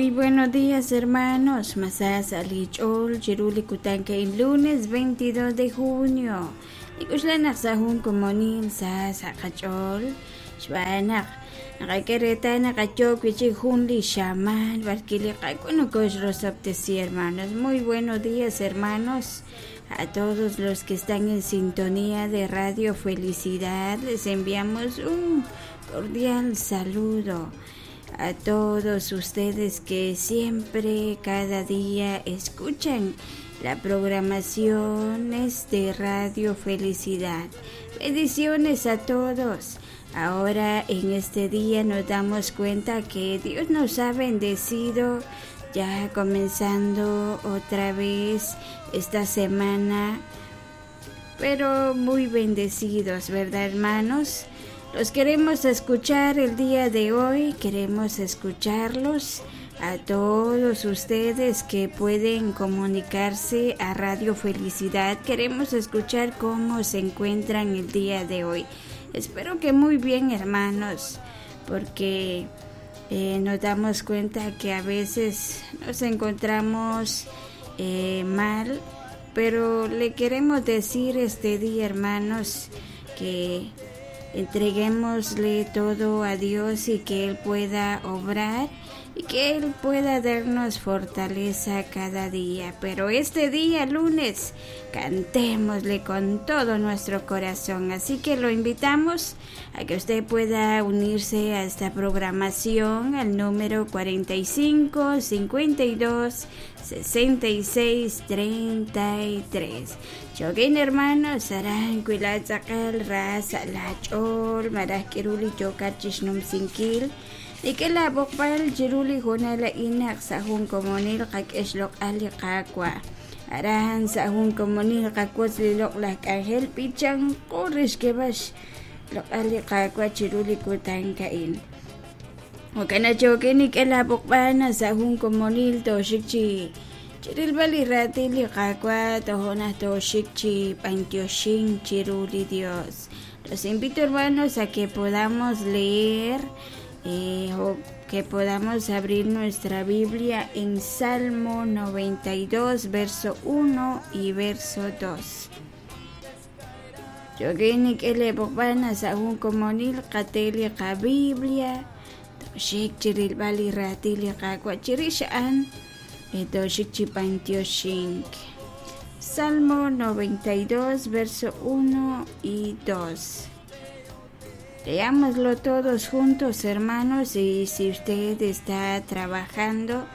Muy buenos días, hermanos. Masas alichol, chiruli kutanke lunes 22 de junio. Ikuxlan sahun komonil sa sakachol. Xbanak. Nakakereta nakachok wichik junli shaman barkili rosoptesi, hermanos. Muy buenos días, hermanos. A todos los que están en sintonía de Radio Felicidad, les enviamos un cordial saludo a todos ustedes que siempre, cada día escuchan la programación de Radio Felicidad. Bendiciones a todos. Ahora en este día nos damos cuenta que Dios nos ha bendecido ya comenzando otra vez esta semana, pero muy bendecidos, ¿verdad, hermanos? Los queremos escuchar el día de hoy, queremos escucharlos a todos ustedes que pueden comunicarse a Radio Felicidad. Queremos escuchar cómo se encuentran el día de hoy. Espero que muy bien, hermanos, porque nos damos cuenta que a veces nos encontramos mal, pero le queremos decir este día, hermanos, que entreguémosle todo a Dios y que Él pueda obrar y que Él pueda darnos fortaleza cada día. Pero este día, lunes, cantémosle con todo nuestro corazón. Así que lo invitamos a que usted pueda unirse a esta programación al número 45 52 66 33. Chogin hermanos, saran kuilatzakal ras lachol marajkiruli chokachishnum sinkil. Nikela bokpal chiruli jonala inak sahun komonil kakeshlok ali kakwa. Aran sahun komonil kakwos lilok lakangel pichang kurish kebash lok ali kakwa chiruli kutankain. Wakana choke nikela bokpana sahun komonil toshik chi chirilbali ratili kakwa tohona toshik chi pantioshin chiruli Dios. Los invito, hermanos, a que podamos leer o que podamos abrir nuestra Biblia en Salmo 92, verso 1 y verso 2. Yogenik ele bokbana sahun komonil kateli ka Biblia toshik chirilbali ratili kakwa chirishaan toshik chipantioshink. Salmo 92, verso 1 y 2. Leámoslo todos juntos, hermanos, y si usted está trabajando,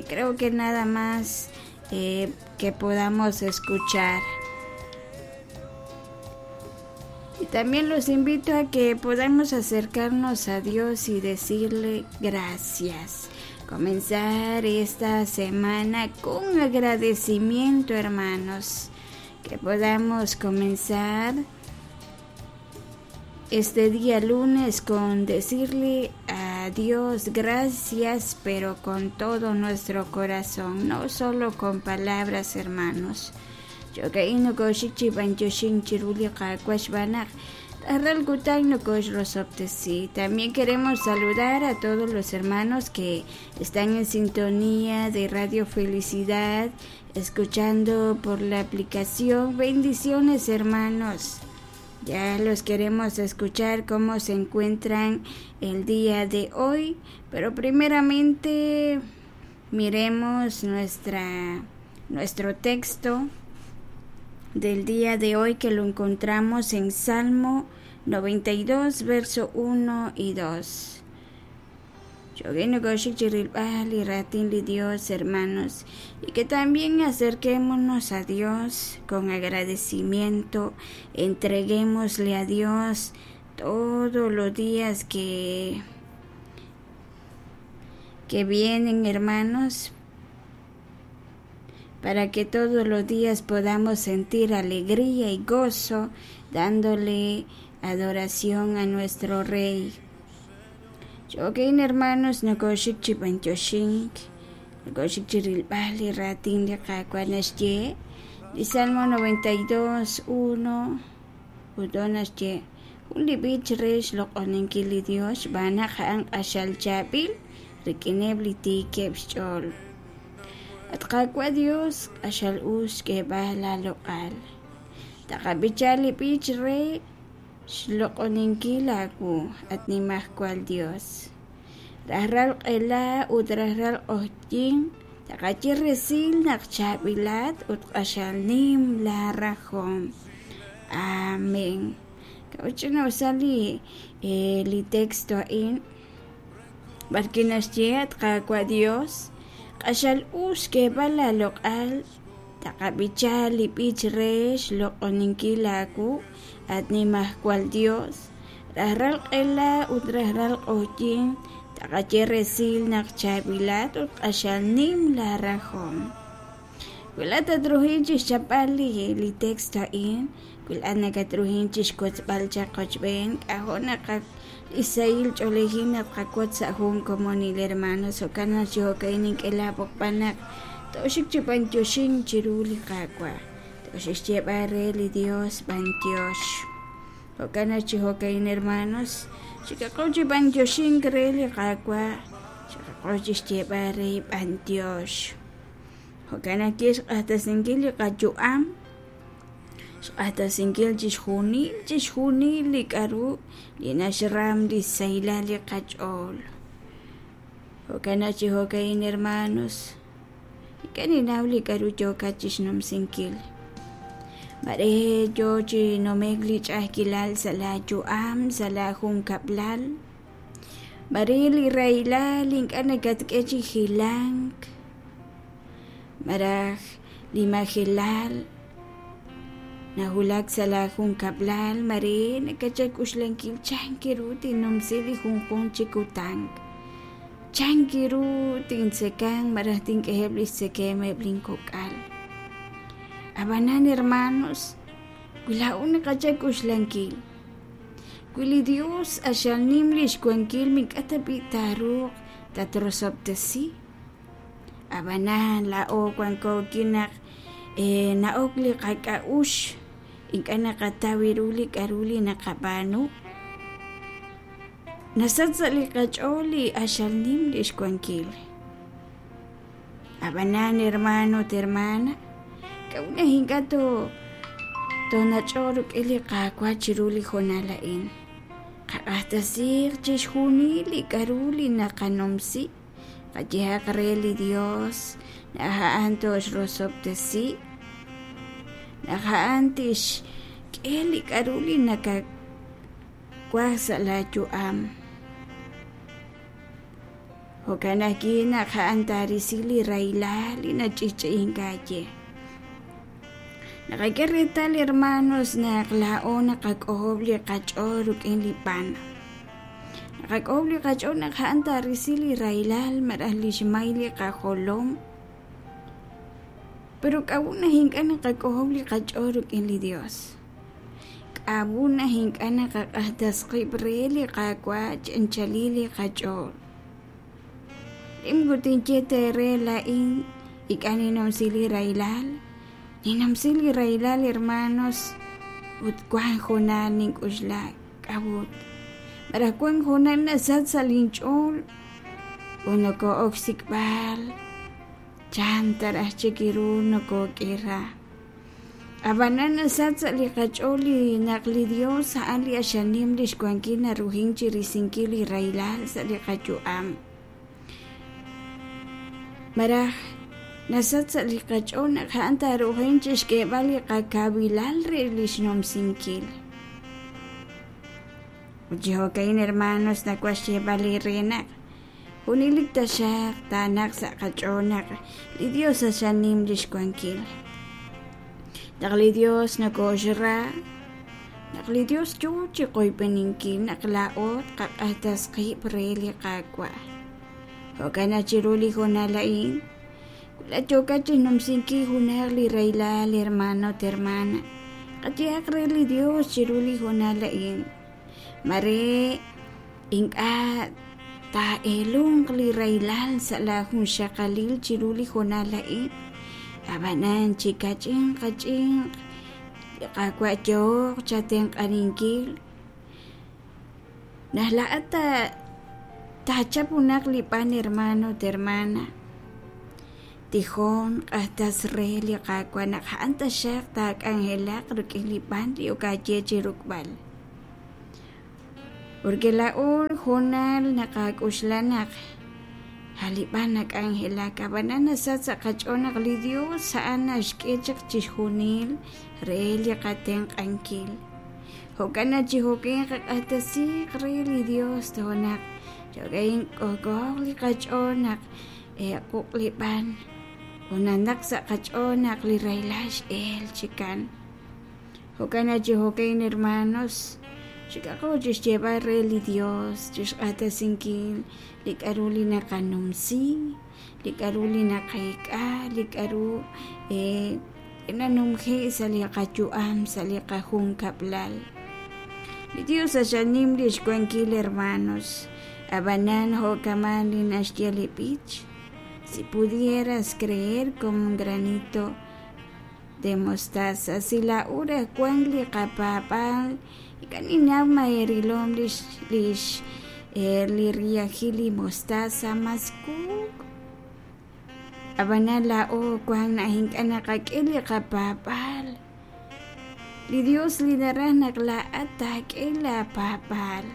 creo que nada más que podamos escuchar. Y también los invito a que podamos acercarnos a Dios y decirle gracias. Comenzar esta semana con agradecimiento, hermanos. Que podamos comenzar este día lunes con decirle a Dios gracias, pero con todo nuestro corazón, no solo con palabras, hermanos. También queremos saludar a todos los hermanos que están en sintonía de Radio Felicidad, escuchando por la aplicación. Bendiciones, hermanos. Ya los queremos escuchar cómo se encuentran el día de hoy, pero primeramente miremos nuestro texto del día de hoy, que lo encontramos en Salmo 92, verso 1 y 2. Dios, hermanos, y que también acerquémonos a Dios con agradecimiento, entreguémosle a Dios todos los días que vienen, hermanos, para que todos los días podamos sentir alegría y gozo, dándole adoración a nuestro Rey. Chokin, hermanos, nokoshik chipanchoshink, nokoshik chirilbali ratin de kakuanashye, di Salmo 92, 1, udonashye, un libich resh loqoninkili Dios, banaka ang ashal chabil, rik'ineb' li tiikeb' xch'ool. At Qaawa' Dios, q'axal us xk'eeb'al aaloq'al. Taqab'icha li b'ich re xloq'oninkil aawu, at Nimajwal Dios. Rajlal q'ela ut rajlal q'oqyink taqaye resil naq chaab'ilat ut q'axal nim laa rajom. Amén. K'a'ut ch'ina'usal li li texto a'in? B'arwi' naxye, At Qaawa' Dios, q'axal us xk'eeb'al aaloq'al, taqab'icha li b'ich re xloq'oninkil aawu, at Nimajwal Dios. Rajlal q'ela ut rajlal q'oqyink taqaye resil naq chaab'ilat ut q'axal nim laa rajom. Wi laa'at tatruhin chixchapb'al li texto a'in, wi laa'at nakatruhin chixwotzb'al chaq qochb'een, k'a'jo' naq li sahil ch'oolejil naq tqawotz sa' jun komonil hermanos. Jo'kan naq chi jo'ka'in nink'e laa b'oqb'al naq tooxik chi b'antioxink chiru li Qaawa', tooxik xyeeb'al re li Dios b'antiox. Jo'kan naq chi jo'ka'in hermanos, xikaqo chi b'antioxink re li Qaawa', xikaqo chi xyeeb'al re b'antiox. Jo'kan naq kix xq'axtesinkil li qayu'am, xq'axtesinkil chixjunil, chixjunil li k'a'ru li naxram li xsahilal li qach'ool. Jo'kan naq chi jo'ka'in hermanos, ink'a' ninnaw li k'a'ru yookat chixnumsinkil. Maare yoo chi nume'k li ch'a'ajkilal sa' laa yu'am, sa' laa junkab'lal. Maare li rahilal ink'a' nakatk'e chi hilank, malaj li majelal nawulak sa' laa junkab'lal, maare nakatchal xk'oxlankil chan ru tinnumsi li junjunq chi kutan, chan ru tintzekanq malaj tink'eheb' lix tzekemq eb' lin kok'al. A'b'anan hermanos, wi laa'o naqachal xk'oxlankil, Wi li Dios q'axal nim lix wankil mink'a' tab'i' taaruuq tatrosob'tesi. A'b'anan laa'o wanko rik'in naq na'ok li qak'a'uxl ink'a' naqataw ru li k'a'ru li naqab'aanu. Nasach sa' li qach'ool li q'axal nim lix wankil. A'b'anan hermano ut hermana, k'a'ut naq ink'a' toonach'oq rik'in li Qaawa' chiru li hoonal a'in? Qaq'axtesiiq chixjunil li k'a'ru li naqanumsi, qayehaq re li Dios naq a'an tooxrosob'tesi, naq a'an tixk'e li k'a'ru li nakawaj sa' laa yu'am. Jo'kan ajwi' naq a'an taarisi li rahilal li nach'i'ch'i'ink aawe. Naqak'e reetal, hermanos, naq laa'o naqak'ojob' li qach'ool rik'in li b'an. Naqak'ojob' li qach'ool naq a'an taarisi li rahilal malaj li xmay li qajolom. Pero k'a'ut naq ink'a' naqak'ojob' li qach'ool rik'in li Dios? K'a'ut naq ink'a' naqaq'axtes qib' re li Qaawa' chi anchalil li qach'ool? Nim ut tinye teere laa'in ink'a' ninnumsi li rahilal, ninnumsi li rahilal hermanos, ut wank hoonal nink'oxla k'a'ut. Malaj wank hoonal nasach sa' linch'ool ut noko'ok xsik'b'al chan ta raj chik ru nokok'ira. Ab'anan nasach sa' li qach'ool li naq li Dios a'an li q'axal nim lix wankil naruhin chirisinkil li rahilal sa' li qayu'am. Malaj nasach sa' li qach'ool naq a'an taaruhin chixk'eeb'al li qakawilal re lix numsinkil. Ut chi jo'ka'in hermanos nawaj xyeeb'al eere naq Junelik taxaq taanaq sa' qach'ool naq li Dios q'axal nim lix wankil. Naq li Dios nokooxra, naq li Dios yoo chi qoyb'eninkil naq laa'o tqaq'axtes qib' re li Qaawa'. Jo'kan naq chiru li hoonal a'in, wi laa'at yookat chixnumsinkil junaq li rahilal, hermano ut hermana, qayehaq re li Dios chiru li hoonal a'in. Maare ink'a' taa'eelunq li rahilal sa' laa junxaqalil chiru li hoonal a'in, a'b'anan chi ka'ch'inq ka'ch'inq li Qaawa' yooq chatenq'aninkil. Naq laa'at Taachap junaq li b'an hermano ut hermana. Tijon q'axtas re li Qaawa' naq a'an taxaq taak'anjelaq rik'in li b'an li ok aaye chi ruk'b'al. Porque laa'o hoonal naqak'oxla naq a' li b'an nak'anjelak, ab'anan nasach sa' qach'ool naq li Dios a'an naxk'e chaq chixjunil re li qatenq'ankil. Jo'kan naq chi jo'kan qaq'axtesiiq re li Dios toja' naq jo'ka'in k'ojk'ooq li qach'ool naq quq' li b'an ut nanaq sa' qach'ool naq li rahilal x'el chikan. Jo'kan naq chi jo'kan hermanos, xik'aqo chi xyeeb'al re li Dios, chi xq'axtesinkil li k'a'ru li naqanumsi, li k'a'ru li naqeek'a, li k'a'ru nanumje' sa' li qayu'am, sa' li qajunkab'lal. Li Dios q'axal nim lix wankil hermanos, ab'anan jo'kaman li naxye li b'ich, si pudieras creer como un granito de mostaza, si laa'o raj wank li qapaab'aal, ink'a' ninnaw ma eerilom lix lix li riyajil li mostaza mas kuk'. Ab'anan laa'o wank naq ink'a' naqak'e li qapaab'aal. Li Dios li naraj naq laa'at taak'e laapaab'aal.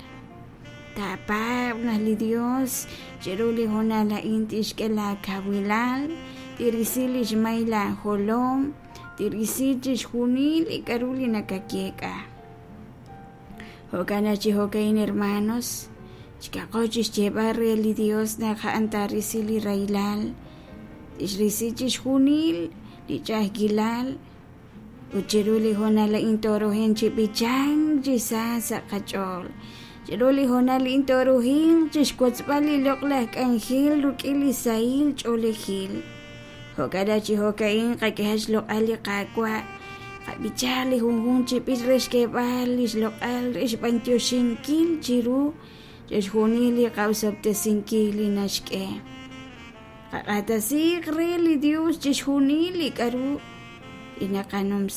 Taapaab' naq li Dios chiru li hoonal a'in tixk'e laakawilal, tirisi li xmay laajolom, tirisi chixjunil li k'a'ru li nakayeek'a. Jo'kan naq chi jo'ka'in hermanos, chikaqo chi xyeeb'al re li Dios naq a'an taarisi li rahilal, tixrisi chixjunil li ch'a'ajkilal ut chiru li hoonal a'in tooruhanq chi b'ichank chi sa sa' qach'ool. Chiru li hoonal a'in tooruhanq chi xwotzb'al li loq'laj k'anjel rik'in li sahil ch'oolejil. Jo'kan naq chi jo'ka'in qak'ehaq xloq'al li Qaawa', qab'ichaq li junjunq chi b'ich re xk'eeb'al li xloq'al re xb'antioxinkil chiru chixjunil li qa'osob'tesinkil li naxk'e. Qaq'axtesiiq re li Dios chixjunil li k'a'ru li naqanumsi.